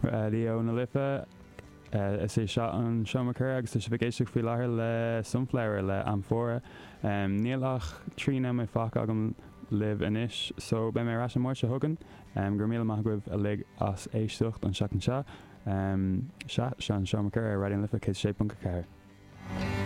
Raidió na Life. Is é seo an Seomra Comhrá agus tá sibh ag éisteacht faoi láthair le Sunflower le Amphora. Níl ach 3 nóiméad fágtha agam libh anois so beidh mé ar ais an Máirt seo chugainn. Go raibh míle maith agaibh uilig as éisteacht an seachtain seo. Sea, seo an Seomra Comhrá ar Raidió na Life 106.4.